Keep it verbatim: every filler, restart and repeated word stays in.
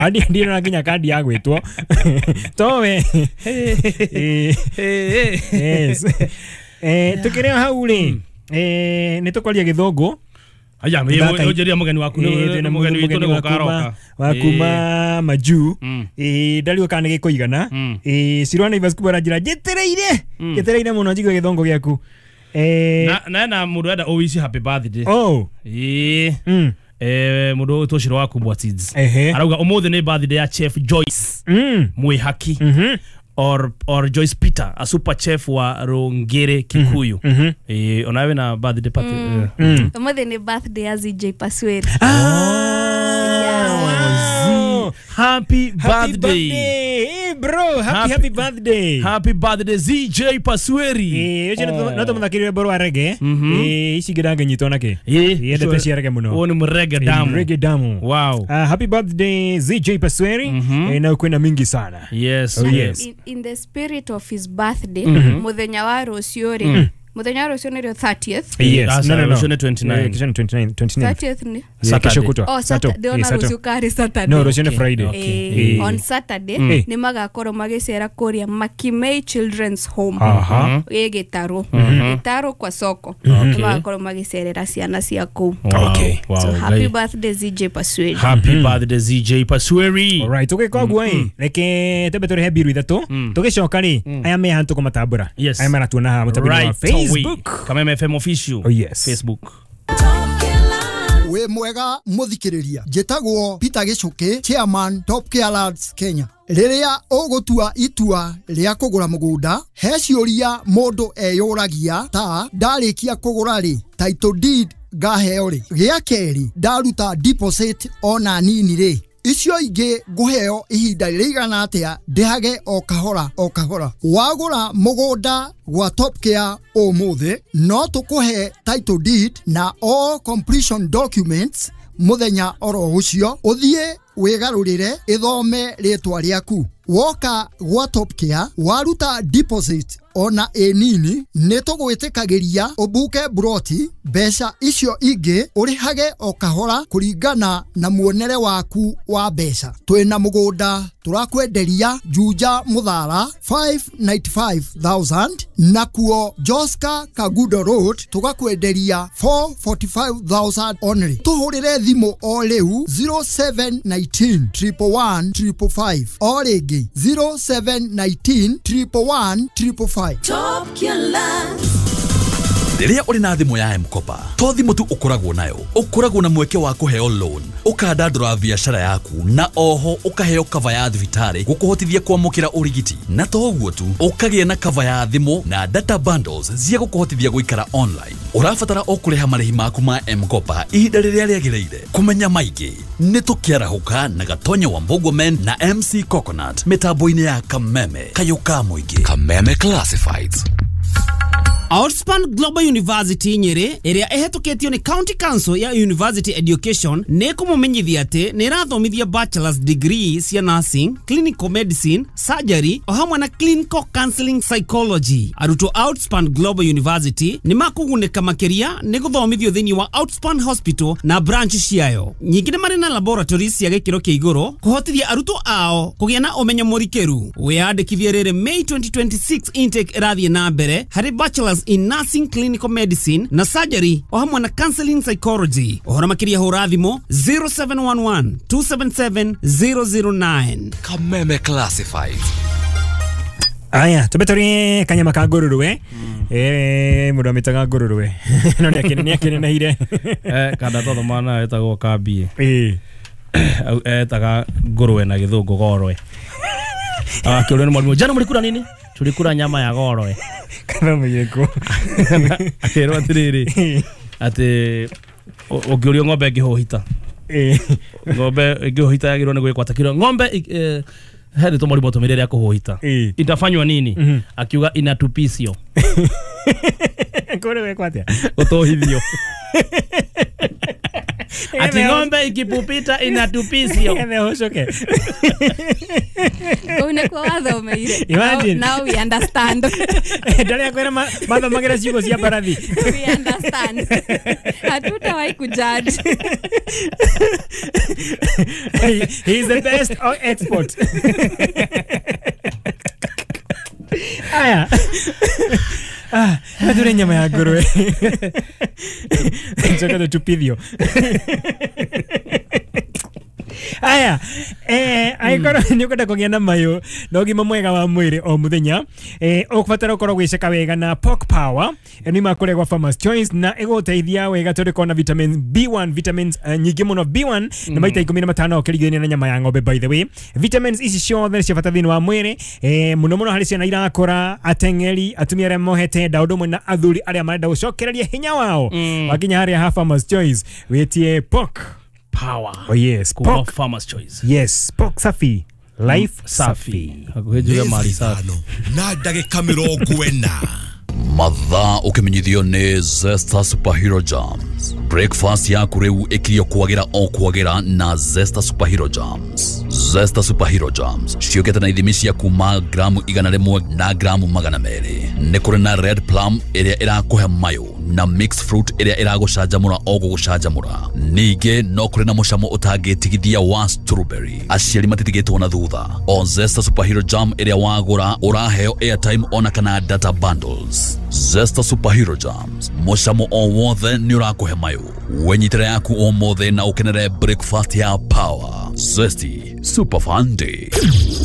Andi ndirĩ na nginya kandi ya gwĩtwo towe. Eh, yes. Eh, tukĩrĩ o hau rĩ, eh, nĩ tũkwaria gĩthũngũ. Aya, ũnjĩria mũgeni waku Eh, nĩ twĩna mũgeni witũ nĩ wa gũka kuma- aroka. wa kuma majuu. Mm. Eh, ndariũ kana nĩ gĩkũigana. Mm. Eh, Cirwa Naivas kuma aranjĩra njĩtĩrĩire njĩtĩrĩire mũno njigue gĩthũngũ gĩaku. Eh, Na na na mũndũ enda ũwici happy birthday. oh Ĩĩ. mm. Eh, mũndũ ũyũ Ciro wa Kubwa Seeds. Ehe. Arauga ũmũthĩ nĩ birthday ya Chef Joyce Mm. Mwihaki Mhm. or or Joyce Peter, a super chef wa Rungere Kikuyu. Mhm. Eh, onawe na birthday party. Eh. Mm. Ũmũthĩ nĩ birthday ya Z J Pasweri. Ah, Happy happy birthday. birthday. Hey, bro, happy Happy- happy birthday. Happy birthday, Z J Pasweri. Eh, ũcio no tũmũthakĩrie rwĩmbo rwa reggae. Eh, ici ingĩ ndangĩnyitwo nakĩ. Eh, Yendete cia reggae mũno. Ũyũ nĩ mũrege damu. Reggae damu. Wow. Uh, happy birthday, Z J Pasweri. Eh, na kwĩna mingi sana. Yes. Oh, yes. In, in the spirit of his birthday, muthenya wa rũciũ rĩ, mũthenya wa rũciũ nĩrĩo thirtieth. Yes. That's No, no, no. rũciũ nĩ twenty-nine. Eh, kesho ni twenty-nine, twenty-nine. thirtieth nĩ Yeah, Saturday. kesho kutwa. Oh, Sato. Saturday, Eh, ndĩrona Sato. rũciũ karĩ Saturday. No, rũciũ nĩ Friday. Eh, Eh. on Saturday Eh. nĩ magakorwo magĩcera kũrĩa Makimei Children's Home Aha. ĩ Gĩtarũ, Gĩtarũ kwa soko, nĩ magakorwo magĩcerera ciana cia kũu. Wow. Okay. Wow. So happy Ngai. birthday, Z J Pasweri. Happy birthday, Z J Pasweri. Alright, tũgĩka ũguo ĩ, reke twambe tũrĩhe mbiru ithatũ, tũgĩcoka rĩ, aya me haha tũkũmatambũra. Yes. Aya maratuona haha mũtambo-inĩ wa Right away. Facebook. Kameme F M official. Oh, yes. Facebook. Wĩ mwega mũthikĩrĩria, njĩtagwo Peter Gĩcũkĩ, chairman Top Care Lands Kenya. Rĩrĩa ũgũtua itua rĩa kũgũra mũgũnda, he ciũria mũndũ eyũragia ta: ndarĩkia kũgũra rĩ, title deed ngaheo rĩ? Gĩa kerĩ, ndaruta deposit ona nini rĩ, icio ingĩ ngũheo ihinda rĩigana atĩa ndĩhage o kahora o kahora? Wagũra mũgũnda gwa Top Care ũmũthĩ, no tũkũhe title deed na all completion documents mũthenya oro ũcio, ũthiĩ wĩgarũrĩre ĩthome rĩtwa rĩaku. Woka gwa Top Care waruta deposit ona ĩ nini, nĩ tũgwĩtĩkagĩria ũbuke buroti, mbeca icio ingĩ ũrĩhage o kahora kũringana na muonere waku wa mbeca. Twĩna mũgũnda tũrakwenderia Juja Mũthara mĩrongo ĩtano na ithano nakuo Joska Kagudo Road tũgakwenderia mĩrongo ĩna na ithano only. Tũhũrĩre thimũ o rĩu zero seven one nine triple one triple five, o rĩngĩ zero seven one nine triple one triple five. Rĩrĩa ũrĩ na thimũ ya M-Kopa, to thimũ tu ũkoragwo nayo, ũkoragwo na mweke wa kũheo loan, ũkandandũra biacara yaku, na oho ũkaheo cover ya thibitarĩ gũkũhotithia kwamũkĩra ũrigiti. Na to ũguo tu, ũkagĩa na cover ya thimũ na data bundles cia gũkũhotithia gũikara online. Ũrabatara o kũrĩha marĩhi maku ma M-Kopa ihinda rĩrĩa rĩagĩrĩire. Kũmenya maingĩ nĩ tũkĩarahũka na Gatonya wa Mbũguomen na M C Coconut mĩtambo-inĩ ya Kameme, kayũ ka mũingĩ. Kameme Classifieds. Outspan Global University Nyeri, ĩrĩa ĩhetũkĩtio nĩ County Council ya University Education, nĩ kũmũmenyithia atĩ nĩ ĩrathomithia bachelor's degree cia nursing, clinical medicine, surgery o hamwe na clinical counseling psychology. Arutwo Outspan Global University nĩ makũgunĩka makĩria nĩ gũthomithio thĩinĩ wa Outspan Hospital na branch ciayo. Nyingĩ nĩ marĩ na laboratories cia gĩkĩro kĩa igũrũ kũhotithia arutwo ao kũgĩa na ũmenyo mũrikĩru. Wĩyandĩkithie rĩrĩ May twenty twenty-six intake ĩrathiĩ na mbere harĩ bachelors in nursing, clinical medicine na surgery o hamwe na counseling psychology. Ũhoro makĩria hũra thimũ zero seven one one two seven seven zero zero nine. Kameme Classifieds. Aya, tumbe tũrĩe kanyama ka ngũrũrwe. Eh, mũndũ amĩtaga ngũrũrwe no nĩ akĩneneire. Eh, kanda twathoma nayo ĩtagwo kambie. Ĩĩ. Etaga ngũrwe na gĩthũngũ gorwe. Akĩũrio nĩ mwarimũ, "Jana mlikula nini?" "Tulikula nyama ya gorwe." Kana mũiyeko. Akĩrwo atĩrĩrĩ, atĩ ũngĩũrio ng'ombe ĩngĩhũhita, Ĩĩ. ng'ombe ĩngĩhũhita yagĩrĩirwo nĩ gwĩkwo atĩa? Kĩrwo ng'ombe eh, he rĩtwa mwarimũ atũmĩire rĩa kũhũhita. Ĩĩ. Itafanywa nini? Akiuga inatupisio. Kũrĩ gwĩkwo atĩa? Gũtũhithio. Ati ng'ombe ikipupita inatupisio. Nĩgetha ũcoke. Kũu nĩkuo wathomeire. Imagine. Now, now we understand. Ndarĩa kwĩra ma- mathomagĩra ciugo cia mbarathi. We understand. Hatutawahi kujudge. He he is the best uh, expert. Aya. Ah, nĩ nyama ya ngũrwe. Njoka tũtupithio. Aya, eh angĩkorwo nĩ ũkwenda kũgĩa na mayũ na ũgima mwega wa mwĩrĩ o mũthenya, eh ũkũbatara ũkorwo gwĩceka wega na Pork Power ĩno ima kũrĩa gwa Farmers Choice na ĩgũteithia wega tondũ ĩkoragwo na vitamin B one, vitamins eh, nyingĩ mũno B one na maita ikũmi na matano ũkĩringithania na nyama ya ng'ombe. By the way, vitamins ici ciothe nĩ cia bata thĩinĩ wa mwĩrĩ, eh mũno mũno harĩ ciana irakũra, ateng'eri, atumia arĩa mohete nda, ũndũ ũmwe na athuri arĩa marenda gũcokereria hinya wao. Wakinya harĩa ha Farmers Choice wĩtie Pork Power. Oh yes, Kuma pork. Farmers Choice. Yes, pork safi. Life safi. Hakuhĩ njuge mali safi. Ithano na ndagĩka mĩrongo ĩna. Mathaa ũkĩmenyithio nĩ Zesta Superhero Jams. Breakfast yaku rĩu ĩkirio kwagĩra o kwagĩra na Zesta Superhero Jams. Zesta Superhero Jams ciũkĩte na ithimi cia kuma gramu igana rĩmwe na gramu magana merĩ. Nĩ kũrĩ na red plum ĩrĩa ĩrakũhe mayũ na mixed fruit ĩrĩa ĩragũcanjamũra o gũgũcanjamũra. Ningĩ no kũrĩ na mũcamo ũtangĩtigithia wa strawberry. Aciari matitigĩtwo na thutha. O Zesta Superhero Jam ĩrĩa wagũra ũraheo airtime ona kana data bundles. Zesta Superhero Jams, mũcamo o wothe nĩ ũrakũhe mayũ. Wenyitĩra yaku ũmũthĩ na ũkenere breakfast ya power. Zesty Super Fun Day.